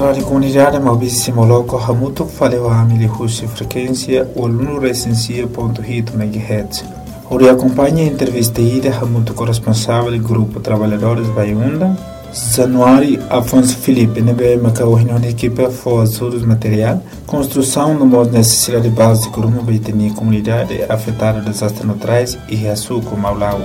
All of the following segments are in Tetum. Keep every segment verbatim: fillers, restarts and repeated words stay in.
Rádiu Komunidade Maubisse Moloko hamutuk fali ho ami liuhusi frekuénsia ualunulu resin sia pontu hitu megahertz. Hodi akompaña entrevista ida hamutuk ho responsavel grupu traballadores Baiundan, Januário Afonso Filipe, ne'ebé maka ohin ho ekipa fó ajudus materiál, konstrusaun no mós nesesidade bázika ruma ba ita-nia komunidade afetadu dezastre naturais iha suku Maulau.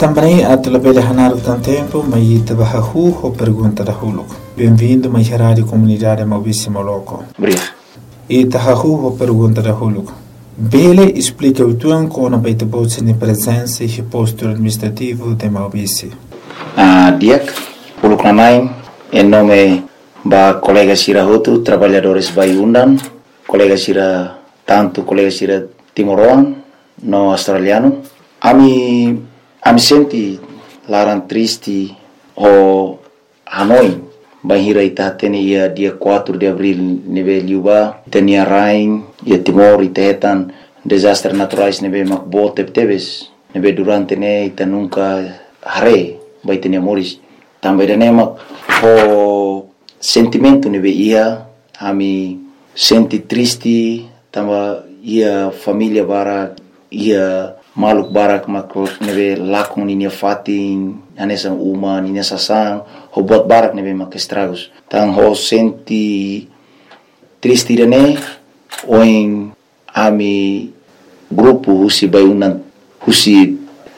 Tanba ne'e atu labele hanaruk tan tempu, mai ita bá hahú ho pergunta dahuluk. Benvindu mai iha Rádiu Komunidade Maubisse Moloko. Obrigadu. Ita hahú ho pergunta dahuluk. Bele esplika uitoan kona-ba ita-boot sira-nia prezensa iha postu administrativu de Maubisse? Ah, di'ak, uluk nanain, em nome ba kolega sira hotu, traballadores Baiundan, kolega sira, tantu kolega sira timoroan no australianu. Ami, ami sente laran triste ho hanoin bainhira ita hatene iha dia quatro de abril ne'ebé liubá, ita-nia rain, iha Timor, ita hetan dezastre naturais ne'ebé mak boot tebetebes, ne'ebé durante ne'e ita nunka haree ba ita-nia moris. Tanba ida-ne'e mak ho sentimentu ne'ebé iha, ami sente triste, tanba iha família barak, iha maluk barak mak ne'ebé lakon ninia fatin, hanesan uma, ninia sasán, ho buat barak ne'ebé mak estragus. Tan ho sente triste ida-ne'e, ohin ami grupu husi Baiundan, husi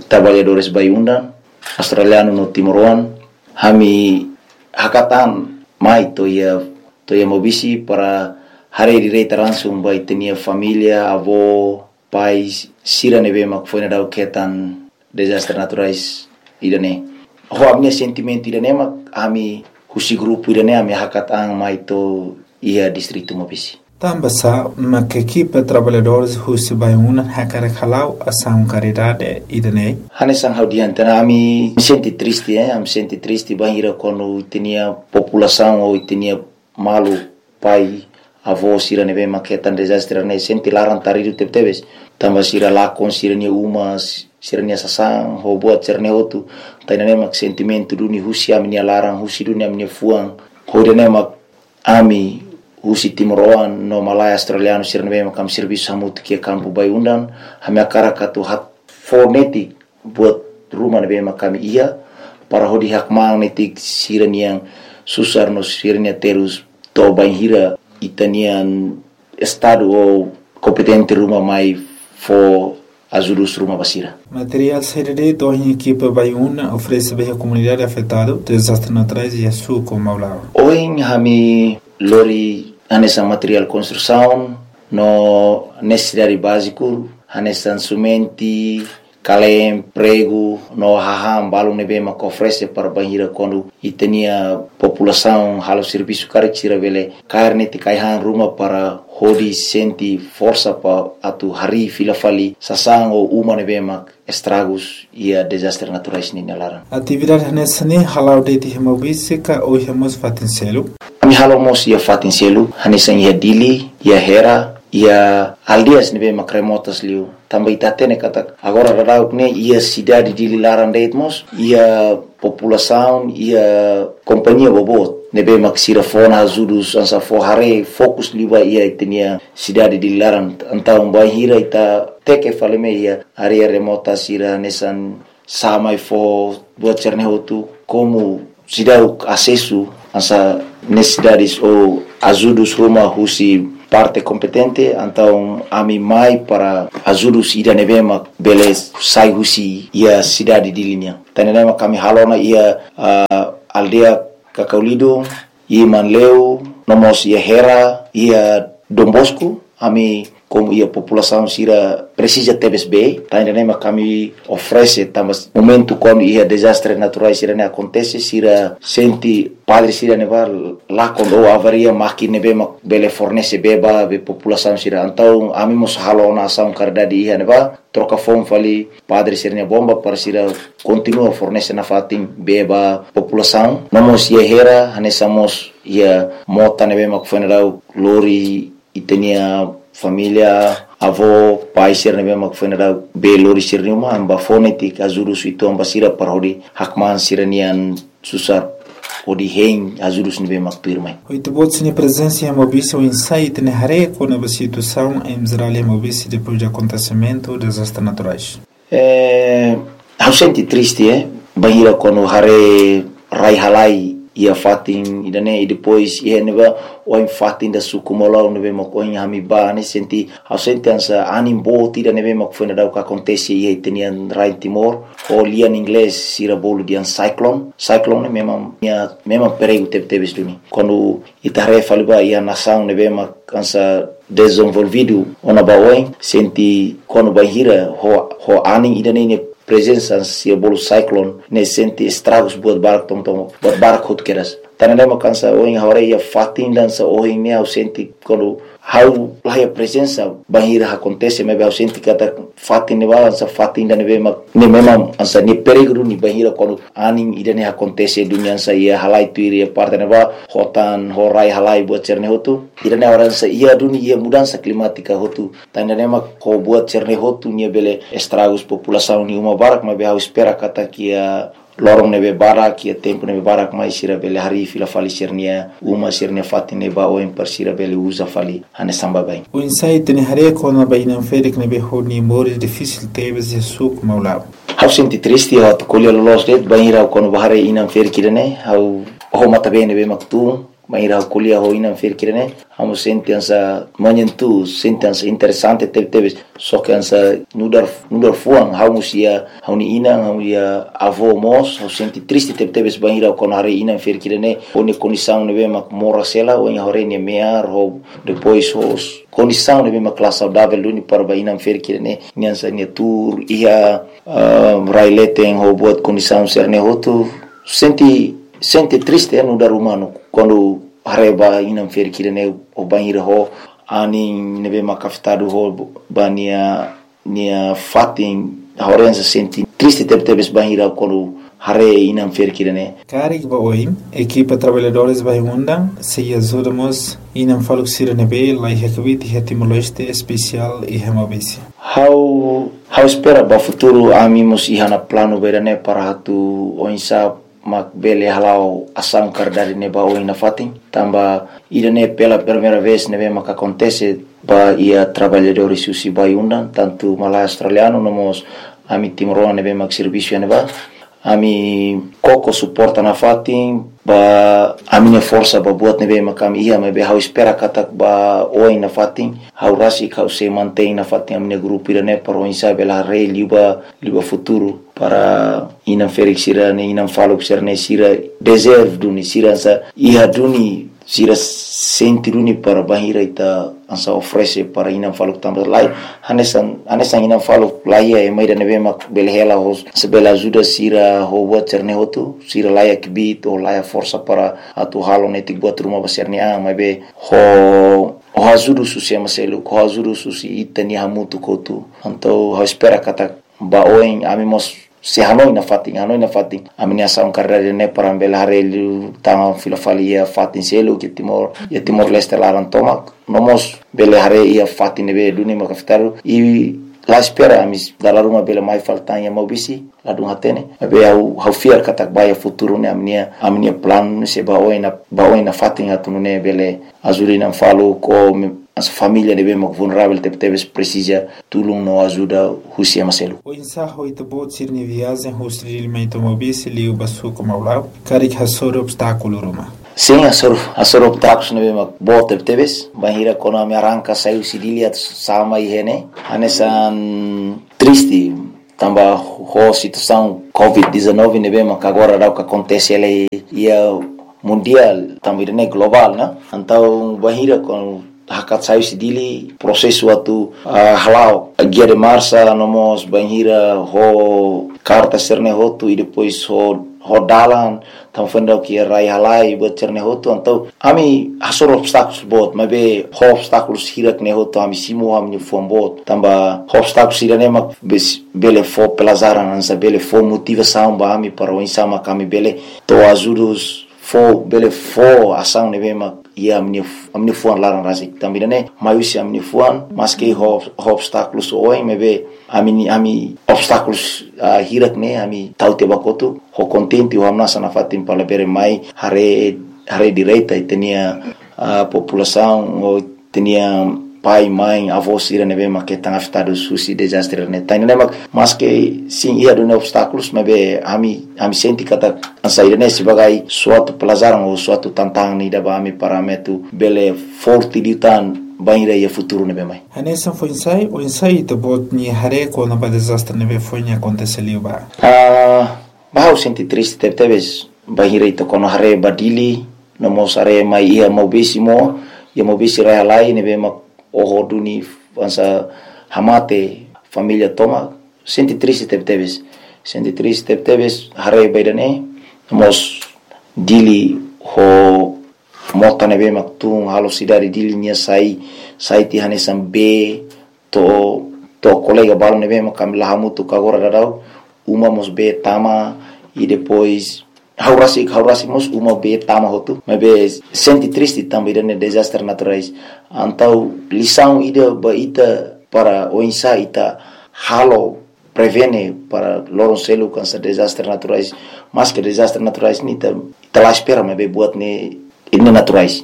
traballadores Baiundan, australianu no timoroan, ami hakat an mai to'o iha, to'o iha Maubisse para haree direta langsung ba ita-nia família, avó, pai sira ne'ebé mak foin daudauk hetan dezastre naturais ida-ne'e. Ho ami-nia sentimentu ida-ne'e mak ami husi grupu ida-ne'e ami hakat an mai to'o iha distritu Maubisse. Tanba sá mak ekipa traballadores husi Baiundan hakarak hala'o asaun karidade ida-ne'e? Hanesan ha'u dehan tiha ona, ami sente triste, eh, ami sente triste bainhira kuandu ita-nia populasaun ou ita-nia maluk, pai, avó sira ne'ebé mak hetan dezastre ne'e sente laran taridu tebetebes. Tanba sira lakon sira-nia uma, sira-nia sasán, ho buat sira-ne'e hotu. Tan ida-ne'e mak sentimentu duni husi ami-nia laran, husi duni ami-nia fuan. Ho ida-ne'e mak ami husi timoroan no malae australianu sira ne'ebé mak ami servisu hamutuk iha kampu Baiundan, ami hakarak atu fó netik buat ruma ne'ebé mak ami iha, para hodi hakmaan netik sira-nia susar no sira-nia terus to'o bainhira ita-nia estadu ou kompetente ruma mai fó ajudus ruma ba sira. Materiál saida de'it ohin ekipa Baiundan oferese ba iha komunidade afetadu dezastre naturais iha suku Maulau? Ohin ami lori hanesan materiál konstrusaun no nesesidade báziku, hanesan simentu, kalém, pregu, no hahán balun ne'ebé mak oferese para bainhira kuandu ita-nia populasaun halo servisu karik sira bele kaer netik ai-han ruma para hodi sente forsa para atu harii fila fali sasán ou uma ne'ebé mak estragus iha dezastre naturais ninia laran. Atividade hanesan ne'e hala'o de'it iha Maubisse ka ou iha mós fatin seluk? Ami halo mós iha fatin seluk, hanesan iha Dili, iha Hera, iha aldeias ne'ebé mak remotas liu. Tanba ita hatene katak agora daudauk ne'e iha sidade Dili laran de'it mós iha populasaun, iha kompañia boboot ne'ebé mak sira fó ona ajudus hanesan fó haree fokus liu ba iha ita-nia sidade Dili laran. Entaun bainhira ita teke fali mai iha área remota sira hanesan sá mai fó buat sira-ne'e hotu, komu seidauk asesu hanesan nesesidades ou ajudus ruma husi parte kompetente, entaun ami mai para ajudus ida ne'ebé mak bele sai husi iha sidade Dili nian. Tan ida-ne'e mak ami halo ona iha, ah, aldeia Kakau Lido, iha Manleu, no mós iha Hera, iha Dom Bosco, ami komu iha populasaun sira presiza tebes bee, tan ida-ne'e mak ami oferese tanba momentu kuandu iha dezastre naturais sira-ne'e akontese, sira sente padre sira ne'ebá lakon ou avaria mákina ne'ebé mak bele fornese bee ba be populasaun sira. Entaun ami mós halo ona asaun karidade iha ne'ebá, troka foun fali padre sira-nia bomba para sira kontinua fornese nafatin bee ba populasaun. No mós iha Hera, hanesan mós iha mota ne'ebé mak foin daudauk lori ita-nia família, avó, pai sira ne'ebé mak foin daudauk bee lori sira-nia uma, ami bá fó netik ajudus uitoan ba sira para hodi hakmaan sira-nia susar hodi hein ajudus ne'ebé mak tuirmai. Oito bots nia prezensa iha Maubisse, oinsá ita-nia haree kona-ba situasaun em geral iha Maubisse depois de acontecimento dezastre naturais. Eh, ha'u sente triste, eh, bainhira kuandu haree rai halai iha fatin ida-ne'e, i depois iha ne'ebá oin fatin ida suku Maulau ne'ebé mak oin ami bá ne'e, sente, ha'u sente hanesan anin boot ida ne'ebé mak foin dadauk akontese iha ita-nia rai Timor, ho lian inglés sira bolu dehan cyclone. Cyclone ne'e memang, nia, memang perigu tebetebes duni. Kuandu ita haree fali ba iha nasaun ne'ebé mak hanesan dezenvolvidu ona ba oin, sente kuandu bainhira ho, ho anin ida-ne'e nia prezensa sira bolu cyclone ne'e, sente estragus buat barak, to'o, to'o buat barak hotu kedas. Tan ne'e mak hanesan ohin ha'u haree iha fatin ida hanesan ohin ne'e, ha'u sente kuandu ha'u la iha prezensa bainhira akontese, maibé ha'u sente katak fatin ne'ebá hanesan fatin ida ne'ebé mak ne'e memang hanesan nia perigu duni bainhira kuandu anin ida-ne'e akontese duni, hanesan iha halai tuir iha parte ne'ebá, ho tan, ho rai halai buat sira-ne'e hotu. Ida-ne'e agora hanesan iha duni iha mudansa klimátika hotu. Tan ida-ne'e mak ho buat sira-ne'e hotu nia bele estragus populasaun nia uma barak, maibé ha'u espera katak iha loron ne'ebé barak, iha tempu ne'ebé barak mai sira bele harii fila fali sira-nia uma, sira-nia fatin ne'ebá oin para sira bele uza fali hanesan baibain. Oinsá ita-nia haree kona-ba inan-ferik ne'ebé ho nia moris difisil tebes iha suku Maulau? Ha'u sente triste, ha'u atu ko'alia loloos de'it, bainhira ha'u kuandu bá haree inan-ferik ida-ne'e, ha'u ho matan-been ne'ebé mak tun, bainhira ha'u ko'alia ho inan-ferik ida-ne'e, ha'u mós sente hanesan menyentuh, sente hanesan interesante tebetebes, só ke hanesan nu'udar, nu'udar fuan, ha'u mós iha ha'u-nia inan, ha'u-nia avó mós, ha'u sente triste tebetebes bainhira ha'u kuandu haree inan-ferik ida-ne'e, ho nia kondisaun ne'ebé mak moras hela, ohin ha'u haree nia me'ar, ho depois ho kondisaun ne'ebé mak la saudavel duni para ba inan-ferik ida-ne'e, nia hanesan nia tuur iha, ah, rai leten ho buat kondisaun sira-ne'e hotu, sente, sente triste, eh, nu'udar umanu. Kuandu haree ba inan-ferik ida-ne'e, ho bainhira ho anin ne'ebé mak afetadu ho ba nia, nia fatin, ha'u hanesan sente triste tebetebes bainhira kuandu haree inan-ferik ida-ne'e. Karik ba oin, ekipa traballadores ba iha Undan sei ajuda mós inan faluk sira ne'ebé laiha kbiit iha Timor-Leste, espesiál iha Maubisse. Ha'u, ha'u espera ba futuru ami mós iha ona planu ba ida-ne'e para atu oinsá mak bele hala'o asaun karidade ne'e ba oin nafatin. Tanba ida-ne'e pela primeira vez ne'ebé mak akontese ba iha traballadores husi Bayu Undan, tantu malae australianu, no mós ami timoroan ne'ebé mak servisu iha ne'ebá. Ami koko suporta nafatin, ba ami-nia forsa ba buat ne'ebé mak ami iha, maibé ha'u espera katak ba oin nafatin, ha'u rasik ha'u sei mantein nafatin ami-nia grupu ida-ne'e para oinsá bele haree liu ba, liu ba futuru para inan-ferik sira-ne'e, inan faluk sira-ne'e, sira deserve duni, sira hanesan iha duni, sira sente duni para bainhira ita hanesan oferese para inan faluk tanba laiha, hanesan, hanesan inan faluk laiha ema ida ne'ebé mak bele hela ho, se bele ajuda sira ho buat sira-ne'e hotu, sira laiha kbiit ou laiha forsa para atu halo netik buat ruma ba sira-nia an, maibé ho, ho ajuda husi ema seluk, ho ajuda husi ita-nia hamutuk hotu. Entaun ha'u espera katak ba oin ami mós sei hanoin nafatin, hanoin nafatin ami-nia asaun karidade ne'e para bele haree liután fila fali iha fatin seluk iha Timor, iha Timor-Leste laran tomak. No mós bele haree iha fatin ne'ebé duni mak afetadu. I la espera ami dala ruma bele mai fali tan iha Maubisse, ladún hatene. Maibé ha'u, ha'u fiar katak ba iha futuru ne'e ami-nia, ami-nia planu ne'e sei ba oin na, ba oin nafatin atu nune'e bele ajuda inan faluk ou me, hanesan família ne'ebé mak vulneravel tebetebes presiza tulun no ajuda husi ema seluk. Oinsá ho ita-boot sira-nia viajen husi Dili mai to'o Maubisse liu ba suku Maulau, karik hasoru obstákulu ruma? Sin, hasoru, hasoru obstákulu ne'ebé mak boot tebetebes. Bainhira kuandu ami arranka sai husi Dili atu sa'e mai iha ne'e, hanesan triste. Tanba ho situasaun covid dezanove ne'ebé mak agora daudaun akontese hela iha mundiál, tanba ida-ne'e globál, ne'e. Entaun bainhira kuandu hakat sai husi Dili, prosesu atu, ah, hala'o guia de marcha, no mós bainhira ho karta sira-ne'e hotu, i depois ho, ho dalan, tanba foin daudaun iha rai halai, buat sira-ne'e hotu. Entaun ami hasoru obstákulu boot, maibé ho obstákulu hirak ne'e hotu ami simu ho ami-nia fuan boot. Tanba ho obstákulu sira-ne'e mak bes-, bele fó pelajaran, hanesan bele fó motivasaun ba ami para oinsá mak ami bele to'o ajudus, fó, bele fó asaun ne'ebé mak iha ami-nia f-, ami-nia fuan laran rasik. Tanba ida-ne'e mai husi ami-nia fuan, maski ho, ho obstákulus oioin, maibé ami-nia, ami obstákulus, ah, hirak ne'e ami tau tiha ba kotuk, ho kontente, ho hamnasa nafatin para labele mai haree, haree direta ita-nia, ah, populasaun, ou ita-nia pai, mãe, avó sira ne'ebé mak hetan afetadu husi dezastre ne'e. Tan ne'e mak, maski sin iha duni obstákulus, maibé ami, ami sente katak hanesan ida-ne'e sebagai suatu pelajaran ou suatu tantangan ida ba ami para ami atu bele forte liután bainhira iha futuru ne'ebé mai. Hanesan foin-sa'e, oinsá ita-boot nia haree kona-ba dezastre ne'ebé foin akontese liubá? Ah, ba ha'u sente triste tebetebes, bainhira ita kuandu haree ba Dili, no mós haree mai iha Maubisse mós, iha Maubisse rai-halai ne'ebé mak oho duni hanesan hamate família tomak, sente triste tebetebes. Sente triste tebetebes, haree ba ida-ne'e, no mós Dili ho mota ne'ebé mak tun halo sidade Dili nia sai, sai tiha hanesan bee, to'o, to'o kolega balu ne'ebé mak ami la hamutuk agora daudaun, uma mós bee tama, i depois, ha'u rasik, ha'u rasik mós uma bee tama hotu, maibé sente triste tanba ida-ne'e dezastre naturais. Entaun, lisaun ida ba ita para oinsá ita halo prevene para loron seluk hanesan dezastre naturais. Maski dezastre naturais ne'e ita, ita la espera, maibé buat ne'e, ne'e naturais.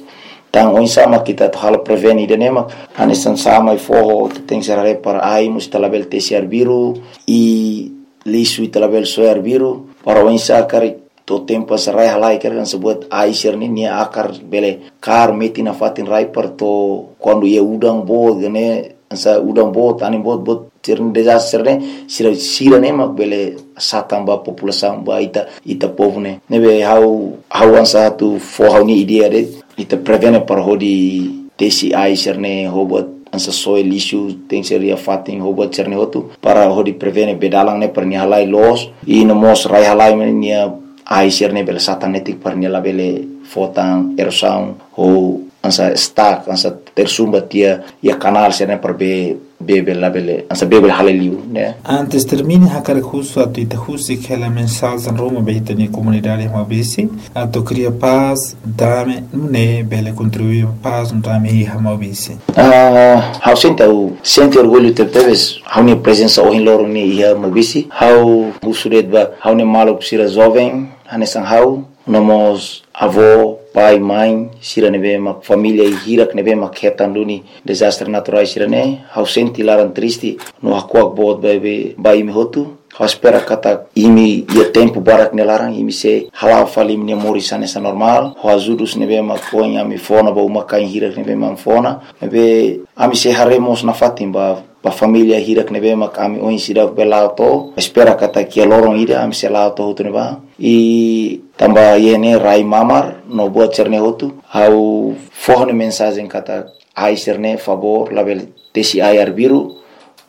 Tan oinsá mak ita atu halo prevene ida-ne'e mak, hanesan sa'e mai foho, ita tenke haree para ai mós ita labele tesi arbiru, i lixu ita labele soe arbiru, para oinsá karik to'o tempu hanesan rai-halai karik hanesan buat ai sira-ne'e nia akar bele kaer metin nafatin rai para to'o kuandu iha udan boot ka ne'e, hanesan udan boot, anin boot, buat sira-ne'e dezastre ne'e, sira, sira-ne'e mak bele satan ba populasaun, ba ita, ita povu ne'e. Ne'ebé ha'u, ha'u hanesan atu fó ha'u-nia ideia de'it, ita prevene para hodi tesi ai sira-ne'e, ho buat hanesan soe lixu, tenke ser iha fatin, ho buat sira-ne'e hotu, para hodi prevene bee dalan ne'e para nia halai loos, i no mós rai-halai mak ne'e nia ai sira-ne'e bele satan netik para nia labele fó tan erosaun, ou hanesan stuck, hanesan tersumbat iha, iha kanál sira-ne'e para bee, bee bele labele, hanesan bee bele halai liu, ne'e. Antes termina, hakarak husu atu ita husik hela mensajen ruma ba ita-nia komunidade Maubisse, atu kria pás, dame, nune'e bele kontribui ba pás no dame iha Maubisse. Ah, ha'u sente, ha'u sente orgullu tebetebes, ha'u-nia prezensa ohin loron ne'e iha Maubisse, ha'u husu de'it ba, ha'u-nia maluk sira joven, hanesan ha'u, no mós avó, pai, mãe, sira ne'ebé mak família hirak ne'ebé mak hetan duni dezastre naturais sira-ne'e, ha'u sente laran triste, no hakuak boot ba, ba, ba imi hotu, ha'u espera katak imi iha tempu badak nia laran, imi sei hala'o fali imi-nia moris hanesan normál, ho ajudus ne'ebé mak ohin ami fó ona ba uma-kain hirak ne'ebé mak ami fó ona, ne'ebé ami sei haree mós nafatin ba, ba família hirak ne'ebé mak ami ohin seidauk bele la'o to'o, espera katak iha loron ida ami sei la'o to'o hotu ne'ebá. I tanba iha ne'e rai mamar, no buat sira-ne'e hotu, ha'u fó ha'u-nia mensajen katak ai sira-ne'e favór, labele tesi ai arbiru,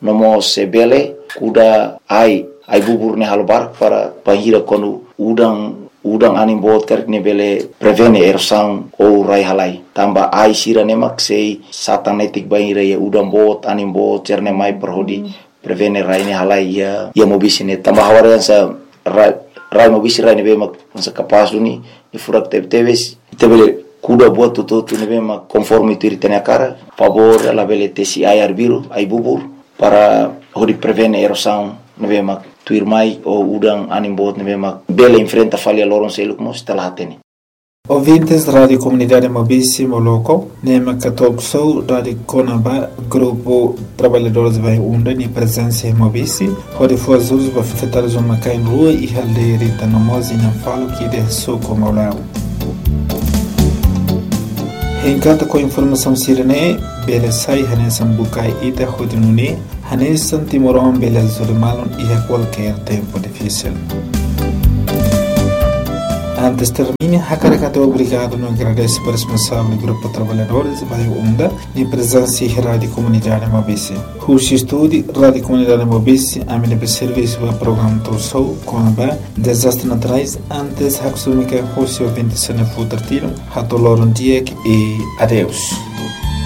no mós se bele kuda ai, ai bubur ne'e halo barak para bainhira kuandu udan, udan anin boot karik ne'e bele prevene erosaun ou rai-halai. Tanba ai sira-ne'e mak sei satan netik bainhira iha udan boot, anin boot, sira-ne'e mai para hodi prevene rai ne'e halai iha, iha Maubisse ne'e. Tanba ha'u haree hanesan rai, rai Maubisse rai ne'ebé mak hanesan kapás duni, nia furak tebetebes. Ita bele kuda buat hotu-hotu ne'ebé mak konforme tuir ita-nia hakarak. Favór labele tesi ai arbiru, ai bubur, para hodi prevene erosaun ne'ebé mak tuirmai ou udan anin boot ne'ebé mak bele enfrenta fali iha loron seluk mós ita la hatene. Ouvintes Rádio Komunidade Maubisse Moloko, ne'e mak talk show daudaun kona-ba Grupu Traballadores Bairru Unda nia prezensa iha Maubisse, hodi fó ajudus ba afetadus uma-kain rua iha aldeia Rita no mós inan faluk ida iha suku Maulao. Hein katak ho informasaun sira-ne'e, bele sai hanesan bukae ida hodi nune'e, hanesan timoroan bele ajuda malu iha kualkér tempu difisil. Antes termina, hakarak atu obrigadu no agradese ba responsavel Grupu Traballadores Bairru Unda nia prezensa iha Rádio Komunidade Maubisse. Husi estúdiu Rádio Komunidade Maubisse, ami ne'ebé servisu ba programa talk show kona-ba dezastre naturais, antes haksolok mai husi ouvinte sira-nia futar tilun, hato'o loron di'ak i adeus.